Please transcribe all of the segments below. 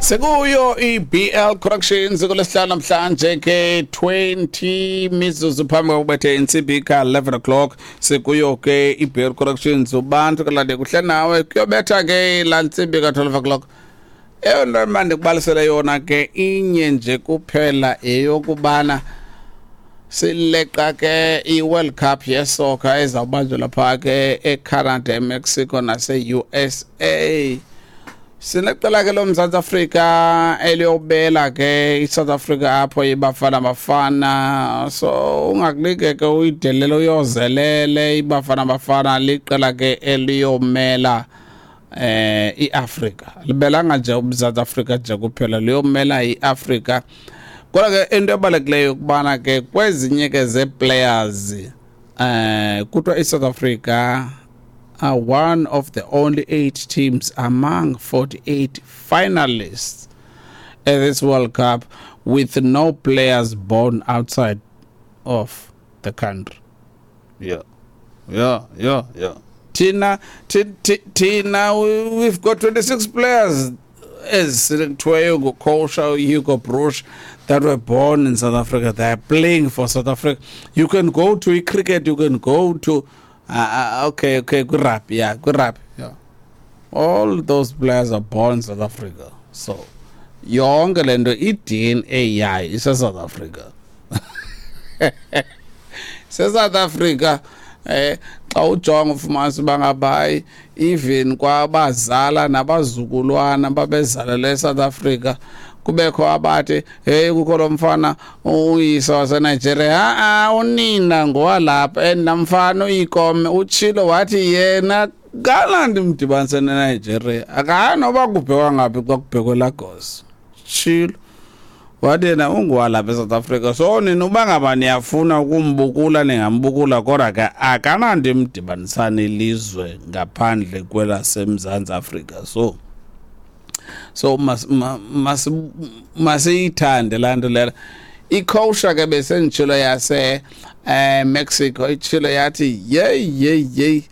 Sekuyo i-BL Corrections kulesihlanu namhlanje ke, 20 mizuzu phambi kokubethe intsimbi ka-11 o'clock. Sekuyo ke i-BL Corrections, ubantu kalade kuhle nawe, kuyobetha ke laa ntsimbi ka-12 o'clock. Eyona nto mandikubalisele yona ke inye nje kuphela, yeyokubana sileqa ke i-World Cup yesoccer ezawubanjelwa phaa ke eCanada, eMexico nase-USA. Sineqela ke loMzantsi Afrika eliyobela ke iSouth Africa apho, iBafana Bafana. So ungakulike ke uyidelele, uyozelele. IBafana Bafana liqela ke eliyomela iAfrika, libelanga nje uMzantsi Afrika nje kuphela, liyomela iAfrika. Kodwa ke into ebalulekileyo ukubana ke kwezinye ke zee-players, kuthiwa iSouth Africa are one of the only eight teams among 48 finalists at this World Cup with no players born outside of the country. Yeah. Thina, thina, we've got 26 players ezikuthiweyo ngucoach Hugo Broos that were born in South Africa. They are playing for South Africa. You can go to cricket, you can go to okay, good rap, yeah, good rap, yeah. All those players are born in South Africa. So yonke le nto, i-DNA yayo ise-South Africa. Se-South Africa. Xa ujonga ufumanisa uba ngaba hayi, even kwabazala nabazukulwana babezalelwe eSouth Africa, kubekho abathi, "Hey, kukho lo mfana uyise waseNigeria." Ha-a, unina ngowalapha, and namfana uyikome utshilo wathi yena kanandi mdibanise neNigeria, akanoba kubhekwa ngaphi xa kubhekwe Lagos. Tshilo wathi yena unguwalapha eSouth Africa. So nina uba ngaba niyafuna ukumbukula, ningambukula, kodwa ke akananto imdibanisana ilizwe ngaphandle kwelaseMzantsi Afrika. So masiyithande laa nto lela. Icoach ke besenditshilo yase Mexico itshilo yathi, "Yeyi, yeyi, yeyi,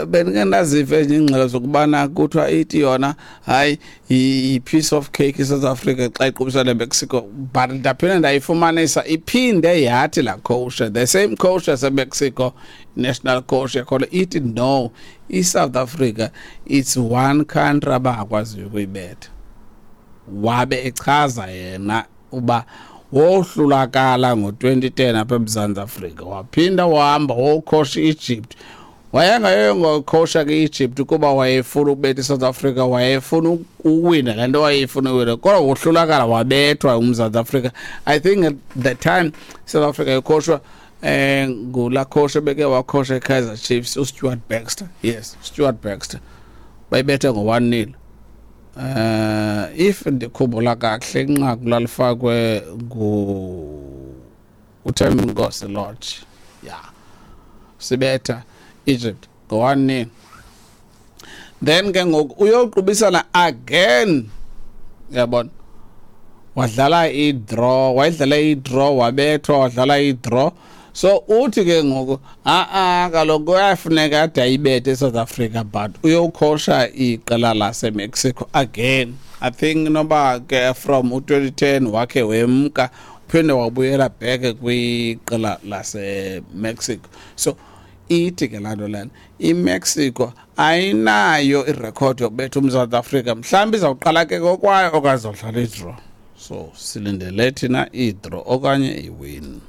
bendike ndaziva ezinye iingxelo zokubana kuthiwa ithi yona hayi, yi-piece of cake iSouth Africa xa iqubisana neMexico." But ndaphinde ndayifumanisa iphinde yathi laa coach, the same coach yaseMexico, national coach yakhona, ithi no, iSouth Africa, it's one country abangakwaziyo ukuyibetha. Wabe echaza yena uba wohlulakala ngo-2010 apha eMzantsi Afrika, waphinda wahamba wocoacha i-Egypt. Wayengayoyongocoacha ke i-Egypt kuba wayefuna ukubetha iSouth Africa, wayefuna uwina le nto wayefuna uwina, kodwa wohlulakala, wabethwa uMzantsi Afrika. I think at the time South Africa icoachwa ngulaa coach ebeke wacoacha iKaizer Chiefs, uStuart Baxter. Yes, Stuart Baxter. Bayibethe ngo-1-0, if ndikhumbula kakuhle. Inqaku lalifakwe ngu uThembinkosi Lorch. Yeah, sibetha Egypt ngo-1-0. Then ke ngoku uyoqubisana again, uyabona, wadlala i-draw, wayidlala i-draw, wabethwa, wadlala i-draw. So uthi ke ngoku a-a, kaloku kuyafuneka ade ayibethe eSouth Africa, but uyocoacha iqela laseMexico again. I think noba ke from u-2010 wakhe wemka, uphinde wabuyela back kwiqela laseMexico. So ithi ke laa nto lena, iMexico ayinayo irekhodi yokubetha uMzantsi Afrika. Mhlawumbi izawuqala ke kokwayo okanye izawudlala idraw. So silindele thina idraw okanye iwin.